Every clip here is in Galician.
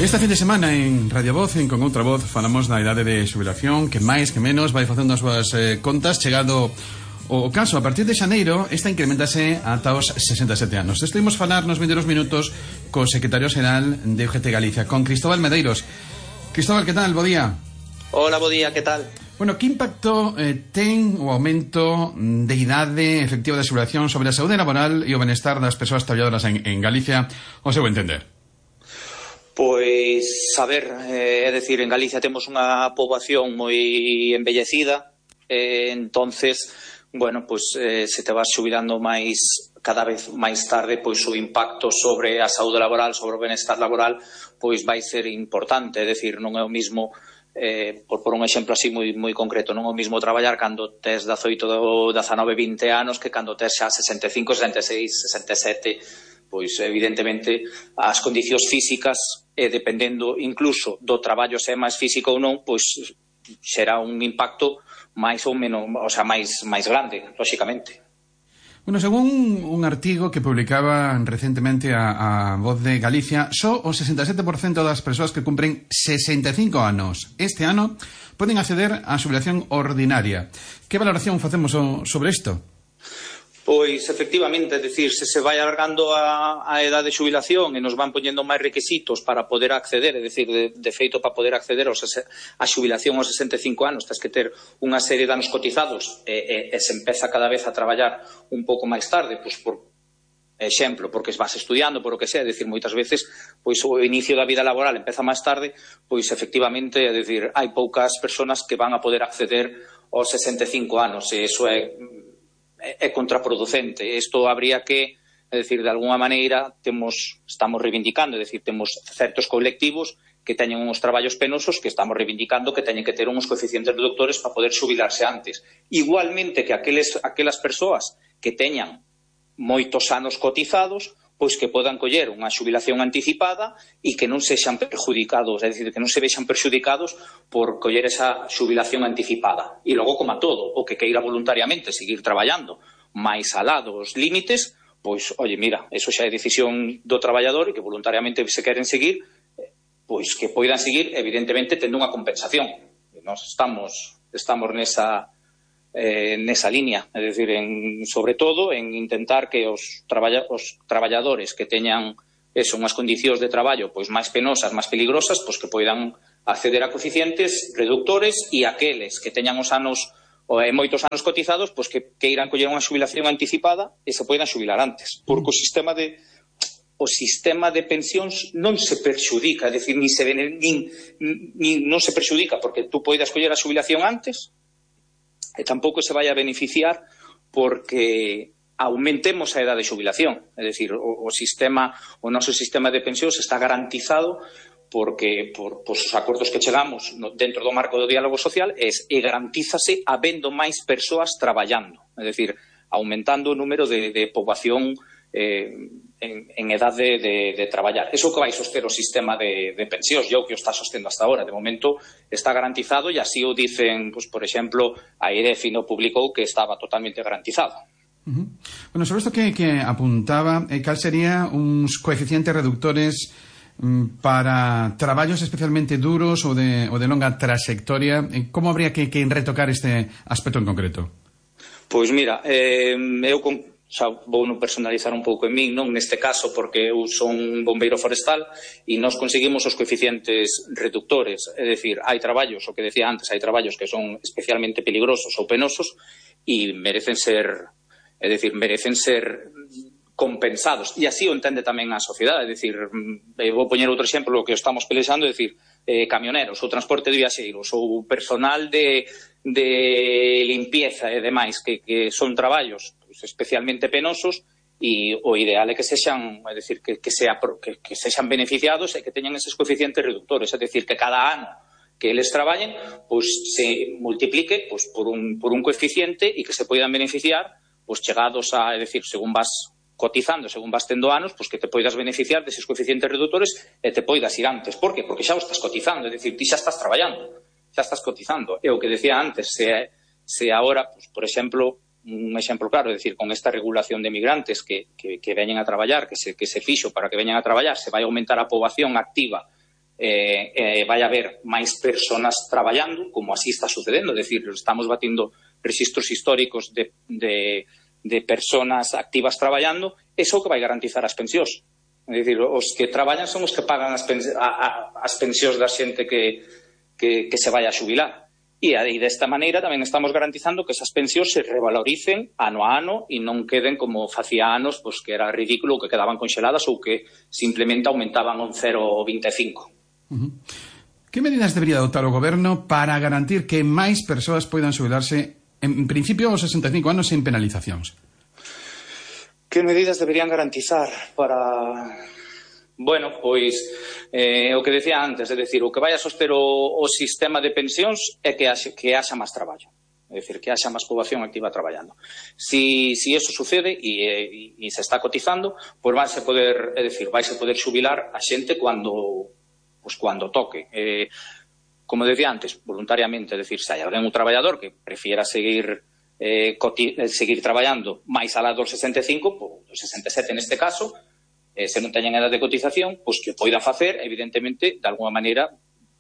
Esta fin de semana en Radio Voz, en Con Outra Voz, falamos da idade de xubilación, que máis que menos vai facendo as súas contas. Chegado o caso, a partir de xaneiro, esta incrementase ata os 67 anos. Estuvimos falar nos 22 minutos co secretario xeral de UGT Galicia, con Cristóbal Medeiros. Cristóbal, que tal? Bo día. Hola, bo día, que tal? Bueno, que impacto ten o aumento de idade efectiva de xubilación sobre a saúde laboral e o benestar das persoas traballadoras en Galicia, ao seu entender? Pois, a ver, é dicir, en Galicia temos unha poboación moi envellecida, entonces, bueno, pois se te vas xubilando máis cada vez máis tarde, pois o impacto sobre a saúde laboral, sobre o benestar laboral, pois vai ser importante, é dicir, non é o mismo, por un exemplo así moi concreto, non é o mismo traballar cando tes 18, 19, 20 anos que cando tes xa 65, 66, 67. Pois evidentemente as condicións físicas, dependendo incluso do traballo se é máis físico ou non, pois será un impacto máis ou menos, o sea, máis grande, lóxicamente. Bueno, según un artigo que publicaba recentemente a Voz de Galicia, só o 67% das persoas que cumpren 65 anos este ano poden acceder á xubilación ordinaria. Que valoración facemos sobre isto? Pois, efectivamente, é dicir, se vai alargando a edade de xubilación e nos van poñendo máis requisitos para poder acceder, é dicir, de feito, para poder acceder a xubilación aos 65 anos, tens que ter unha serie de anos cotizados e se empeza cada vez a traballar un pouco máis tarde, pois por exemplo, porque vas estudiando, por o que sea, é dicir, moitas veces, pois o inicio da vida laboral empeza máis tarde, pois efectivamente, é dicir, hai poucas persoas que van a poder acceder aos 65 anos, e iso é contraproducente. Isto habría que, é dicir, de alguna maneira estamos reivindicando, é dicir, temos certos colectivos que teñen uns traballos penosos que estamos reivindicando que teñen que ter uns coeficientes reductores para poder xubilarse antes. Igualmente que aquelas persoas que teñan moitos anos cotizados, pois que podan coller unha xubilación anticipada e que non sexan perjudicados, é dicir, que non se vexan perjudicados por coller esa xubilación anticipada. E logo, como a todo, o que queira voluntariamente seguir traballando máis alá dos límites, pois, oye, mira, eso xa é decisión do traballador e que voluntariamente se queren seguir, pois que poidan seguir, evidentemente, tendo unha compensación. E nós estamos nesa línea, é dicir, sobre todo en intentar que os traballadores que teñan unhas condicións de traballo pois máis penosas, máis peligrosas, pois que poidan acceder a coeficientes reductores e aqueles que teñan os anos moitos anos cotizados, pois que irán coller unha xubilación anticipada e se poidan xubilar antes, porque o sistema de pensións non se perxudica, é dicir, non se perxudica porque tú poidas coller a xubilación antes e tampouco se vai a beneficiar porque aumentemos a edade de xubilación. É dicir, o noso sistema de pensións está garantizado porque por os acordos que chegamos dentro do marco do diálogo social e garantízase habendo máis persoas traballando. É dicir, aumentando o número de poboación en edade de traballar. Iso que vai soster o sistema de pensións, e o que o está sostendo hasta ahora. De momento está garantizado e así o dicen, pues, por exemplo, a IREF no publicou que estaba totalmente garantizado. Bueno, sobre isto que apuntaba, cal sería uns coeficientes reductores para traballos especialmente duros ou de longa trayectoria? Como habría que retocar este aspecto en concreto? Pois mira, eu xa vou non personalizar un pouco en min, non neste caso, porque eu son bombeiro forestal e nós conseguimos os coeficientes reductores, é dicir, hai traballos, o que decía antes, hai traballos que son especialmente peligrosos ou penosos e merecen ser compensados, e así o entende tamén a sociedade. É dicir, vou poñer outro exemplo, o que estamos pelexando, é dicir, camioneros, ou transporte de viaxeiros, ou personal de limpieza e demais, que son traballos especialmente penosos, e o ideal é que sexan, é dicir, que sexan beneficiados e que teñan eses coeficientes reductores, é dicir, que cada ano que eles traballen, pois se multiplique pois por un coeficiente e que se poidan beneficiar, pois chegados a, é dicir, según vas cotizando, según vas tendo anos, pois que te poidas beneficiar deses coeficientes reductores e te poidas ir antes. Por que? Porque xa o estás cotizando, é dicir, ti xa estás traballando, xa estás cotizando. E o que decía antes, se agora, pois, por exemplo, un exemplo claro, é dicir, con esta regulación de migrantes que veñen a traballar, que se fixo para que veñan a traballar, se vai aumentar a poboación activa vai haber máis persoas traballando, como así está sucedendo, é dicir, estamos batindo registros históricos de persoas activas traballando, eso que vai garantizar as pensións. É dicir, os que traballan son os que pagan as pensións da xente que se vai a xubilar. E desta maneira tamén estamos garantizando que esas pensións se revaloricen ano a ano e non queden como facía anos, pois que era ridículo, que quedaban conxeladas ou que simplemente aumentaban un 0,25. Que medidas debería adoptar o goberno para garantir que máis persoas poidan xubilarse en principio aos 65 anos sen penalizacións? Que medidas deberían garantizar para... Bueno, pois, o que decía antes, é dicir, o que vai a soster o sistema de pensións é que haxa máis traballo. É dicir, que haxa máis poboación activa traballando. Si eso sucede e se está cotizando, pois vaise poder xubilar a xente cando toque. Como decía antes, voluntariamente, é dicir, se hai alguén un traballador que prefiera seguir traballando máis alá dos 65, dos 67 neste caso, se non teñen edad de cotización, pois que o poida facer, evidentemente, de alguma maneira,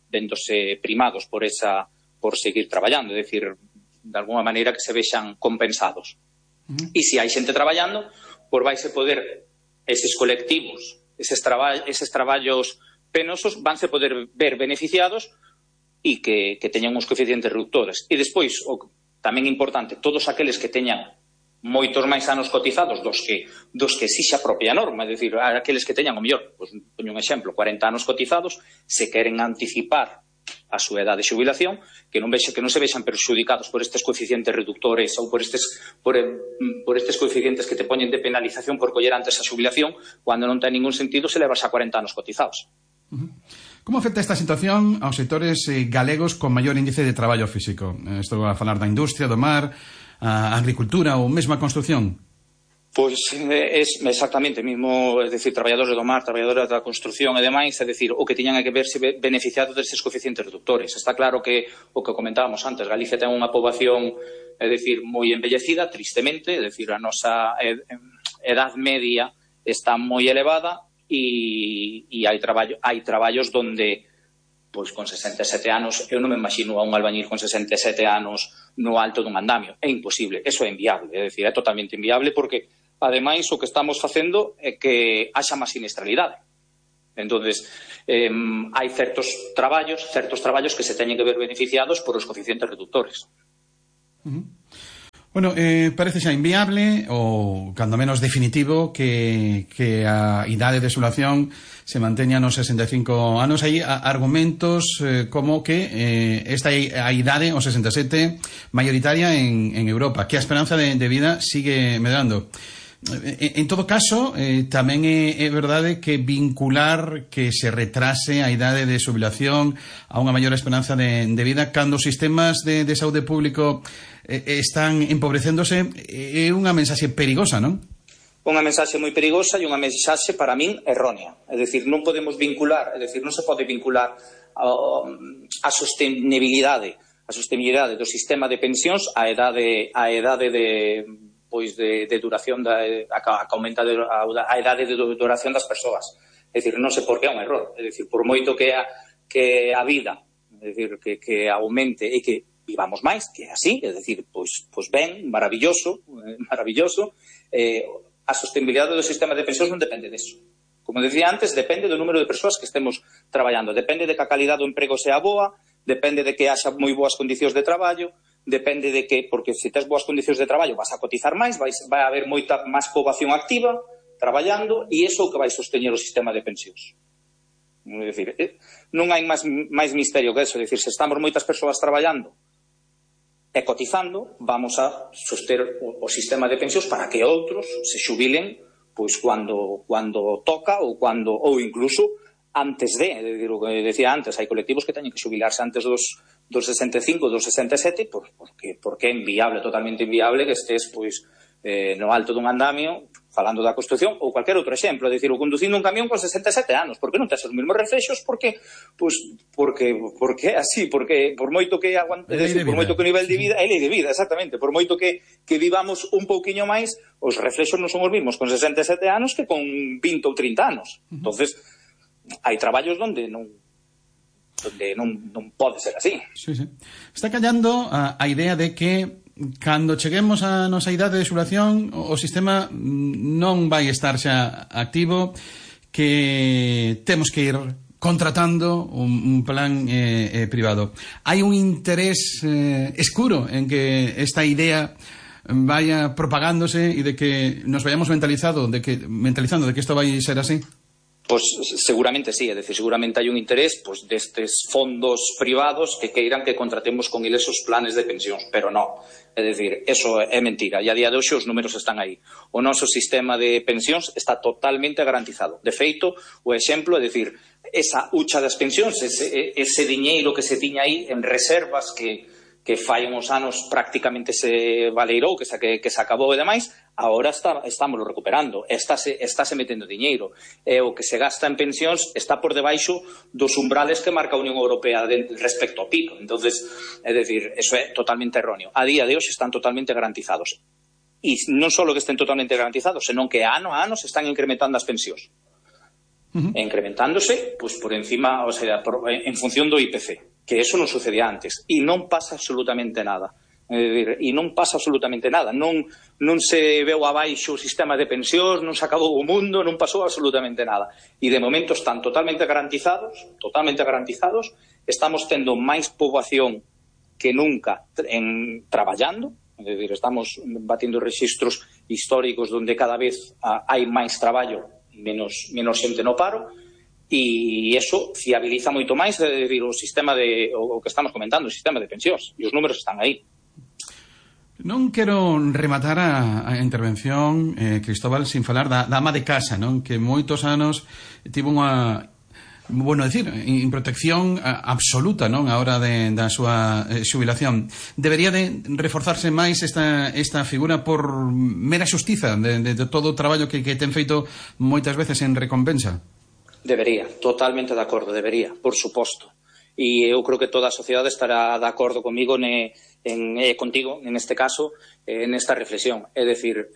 vendose primados por seguir traballando, é dicir, de alguma maneira que se vexan compensados. E se hai xente traballando, pois vaise poder, eses colectivos, eses traballos penosos, vanse poder ver beneficiados e que teñan uns coeficientes reductores. E despois, tamén importante, todos aqueles que teñan moitos máis anos cotizados dos que exixe a propia norma, é dicir, aqueles que teñan o mellor, pois, poño un exemplo, 40 anos cotizados, se queren anticipar a súa edade de xubilación, que non se vexan perxudicados por estes coeficientes reductores ou por estes coeficientes que te poñen de penalización por coller antes a xubilación, cando non ten ningún sentido se levas a 40 anos cotizados. Como afecta esta situación aos sectores galegos con maior índice de traballo físico? Estou a falar da industria, do mar, a agricultura ou mesmo a construción? Pois é exactamente mismo, é dicir, traballadores do mar, traballadores da construción e demais, é dicir, o que tiñan que verse beneficiados destes coeficientes reductores. Está claro que o que comentábamos antes, Galicia ten unha poboación, é dicir, moi envellecida, tristemente, é dicir, a nosa edad media está moi elevada e hai traballos donde, pois con 67 anos, eu non me imagino a un albañil con 67 anos no alto dun andamio. É imposible, eso é inviable, é dicir, é totalmente inviable porque, ademais, o que estamos facendo é que haxa máis siniestralidade. Entonces, hai certos traballos que se teñen que ver beneficiados por os coeficientes reductores. Bueno, parece xa inviable ou, cando menos, definitivo que a idade de xubilación se manteña nos 65 anos. Hai argumentos como que esta a idade, os 67, maioritaria en Europa, que a esperanza de vida sigue medrando. En todo caso, tamén é verdade que vincular que se retrase a idade de xubilación a unha maior esperanza de vida cando os sistemas de saúde público están empobrecéndose é unha mensaxe perigosa, non? Unha mensaxe moi perigosa e unha mensaxe para min errónea. É dicir, non podemos vincular, é dicir, non se pode vincular a sostenibilidade do sistema de pensións a idade de duración que aumenta a idade de duración das persoas. É dicir, non sei por que é un error. É dicir, por moito que a vida, é dicir, que aumente e que vivamos máis, que é así, é dicir, pois ben, maravilloso, a sostenibilidade do sistema de pensións non depende deso. Como decía antes, depende do número de persoas que estemos traballando, depende de que a calidad do emprego sea boa, depende de que haxa moi boas condicións de traballo, depende de que, porque se tes boas condicións de traballo vas a cotizar máis, vai haber moita máis poboación activa traballando e iso é o que vai sosteñer o sistema de pensións. É dicir, non hai máis misterio que eso, é dicir, se estamos moitas persoas traballando e cotizando, vamos a soster o sistema de pensións para que outros se xubilen pois cando toca ou incluso antes de, o que decía antes, hai colectivos que teñen que xubilarse antes dos 65, dos 67, porque é inviable, totalmente inviable que estés pois no alto dun andamio falando da construción ou cualquier outro exemplo, é dicir, o conducindo un camión con 67 anos, porque non tes os mesmos reflexos, porque é así, porque por moito que aguante, por moito que o nivel de vida, é lei de vida, exactamente, por moito que vivamos un pouquiño máis, os reflexos non son os mesmos con 67 anos que con 20 ou 30 anos. Entonces, hai traballos onde non donde non pode ser así. Sí. Está callando a idea de que cando cheguemos a nosa idade de xubulación o sistema non vai estar xa activo, que temos que ir contratando un plan privado. Hai un interés escuro en que esta idea vaya propagándose e de que nos vayamos mentalizando de que isto vai ser así. Pois seguramente sí, é dicir, seguramente hai un interés destes fondos privados que queiran que contratemos con eles os planes de pensións, pero non, é dicir, eso é mentira, e a día de hoxe os números están aí. O noso sistema de pensións está totalmente garantizado. De feito, o exemplo é dicir, esa hucha das pensións, ese diñeiro que se tiña aí en reservas que fai uns anos prácticamente se valeirou, que se acabou e demais, agora estámoslo recuperando, estáse metendo diñeiro, e o que se gasta en pensións está por debaixo dos umbrales que marca a Unión Europea respecto ao PIB. Entonces, é dicir, eso é totalmente erróneo. A día de hoxe están totalmente garantizados. E non só que estén totalmente garantizados, senón que ano a ano se están incrementando as pensións. Incrementándose, por encima, o sea, en función do IPC, que eso non sucedía antes, e non pasa absolutamente nada. Non se veu abaixo o sistema de pensións, non se acabou o mundo, non pasou absolutamente nada. E de momento están totalmente garantizados, estamos tendo máis poboación que nunca traballando, é dicir, estamos batindo registros históricos onde cada vez hai máis traballo, menos xente no paro, e iso fiabiliza moito máis o sistema o que estamos comentando, o sistema de pensións, e os números están aí. Non quero rematar a intervención, Cristóbal, sin falar da ama de casa, non? Que moitos anos tivo unha, en protección absoluta, non, a hora da súa xubilación. Debería de reforzarse máis esta figura por mera xustiza de todo o traballo que ten feito moitas veces en recompensa. Debería, totalmente de acordo, debería, por suposto. E eu creo que toda a sociedade estará de acordo comigo contigo, en este caso, nesta reflexión. É dicir,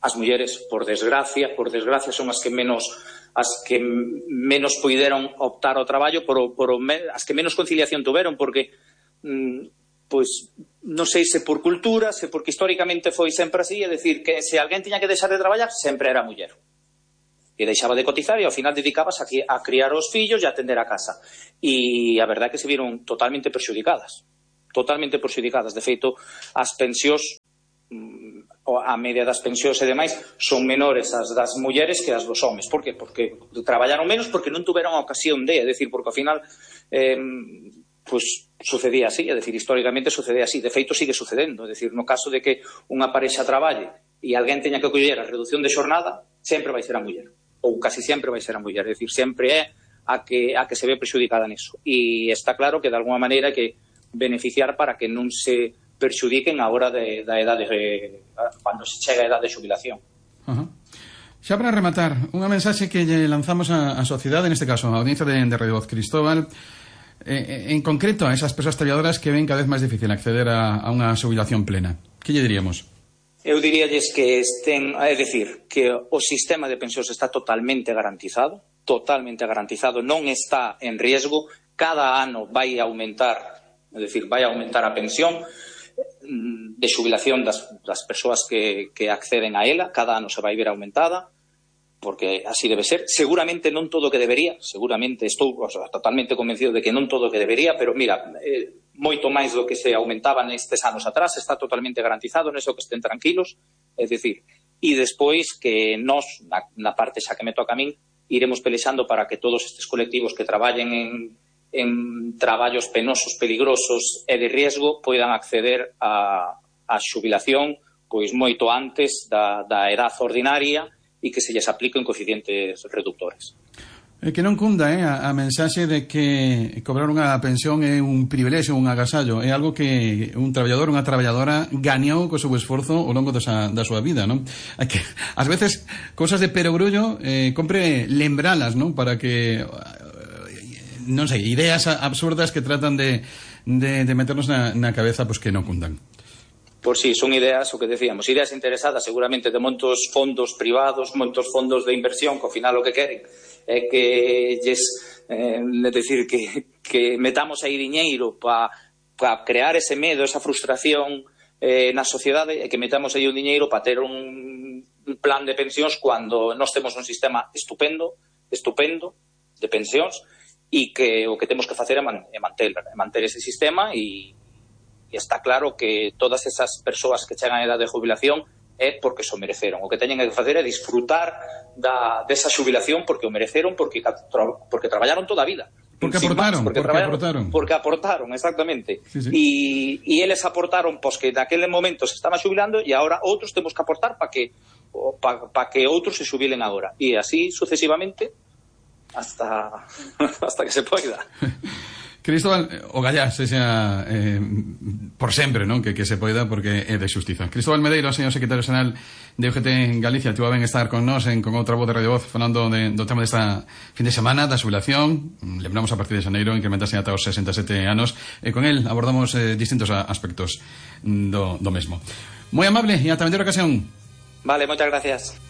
as mulleres, por desgracia, son as que menos puideron optar ao traballo, as que menos conciliación tuveron, porque non sei se por cultura, se porque históricamente foi sempre así, é dicir, que se alguén tiña que deixar de traballar, sempre era a muller. E deixaba de cotizar e ao final dedicabas a criar os fillos e a atender a casa. E a verdade é que se viron totalmente perxudicadas. De feito, as pensións, a media das pensións e demais, son menores as das mulleres que as dos homes. Por que? Porque traballaron menos, porque non tuveron a ocasión é dicir, porque ao final sucedía así, é dicir, históricamente sucedía así. De feito, sigue sucedendo. É dicir, no caso de que unha parexa traballe e alguén teña que coller a reducción de xornada, sempre vai ser a muller. Ou casi sempre vai ser a muller, é dicir, sempre é a que se ve prexudicada niso. E está claro que de alguma maneira que beneficiar para que non se perxudiquen a hora da edade, cando se chega a edade de xubilación. Xa para rematar, unha mensaxe que lle lanzamos á sociedade, neste caso a audiencia de Radio Voz, Cristóbal, en concreto a esas persoas traballadoras que ven cada vez máis difícil acceder a unha xubilación plena. Que lle diríamos? Eu diríalles que é dicir, que o sistema de pensións está totalmente garantizado, non está en riesgo, cada ano vai aumentar a pensión de xubilación das persoas que acceden a ela, cada ano se vai ver aumentada, porque así debe ser. Seguramente non todo o que debería, estou totalmente convencido de que non todo o que debería, pero mira, moito máis do que se aumentaba nestes anos atrás, está totalmente garantizado, neso que estén tranquilos, é dicir, e despois que nós, na parte xa que me toca a min, iremos pelexando para que todos estes colectivos que traballen en traballos penosos, peligrosos e de riesgo poidan acceder a xubilación pois moito antes da edad ordinaria e que se lles apliquen coeficientes reductores. Que non cunda a mensaxe de que cobrar unha pensión é un privilexio, un agasallo, é algo que un traballador, unha traballadora gañou co seu esforzo ao longo da súa vida, non? Hai que, ás veces, cosas de perogrullo, compre lembralas, non? Para que, non sei, ideas absurdas que tratan de meternos na cabeza, pois que non cundan. Por si, son ideas, o que decíamos, ideas interesadas seguramente de moitos fondos privados, moitos fondos de inversión, que ao final o que queren é que lles decir que que metamos aí diñeiro para crear ese medo, esa frustración na sociedade, e que metamos aí un diñeiro para ter un plan de pensións cando nós temos un sistema estupendo de pensións, e que o que temos que facer é manter ese sistema, e está claro que todas esas persoas que chegan a edad de jubilación é porque se o mereceron. O que teñen que facer é disfrutar desa xubilación porque o mereceron, porque traballaron toda a vida. Porque aportaron, exactamente. Sí, sí. E eles aportaron, pois que naquele momento se estaba xubilando, e agora outros temos que aportar para que outros se xubilen agora. E así sucesivamente hasta que se poida. Cristóbal, o gallá sexa por sempre, non? Que se poida, porque é de xustiza. Cristóbal Medeiro, señor secretario xeral de UGT en Galicia, tuvo ben estar con nós con outra voz de Radio Voz falando do tema desta fin de semana da xubilación. Lembramos a partir de xaneiro incrementase ata os 67 anos, e con el abordamos distintos aspectos do mesmo. Moi amable e ata a vindeira ocasión. Vale, moitas gracias.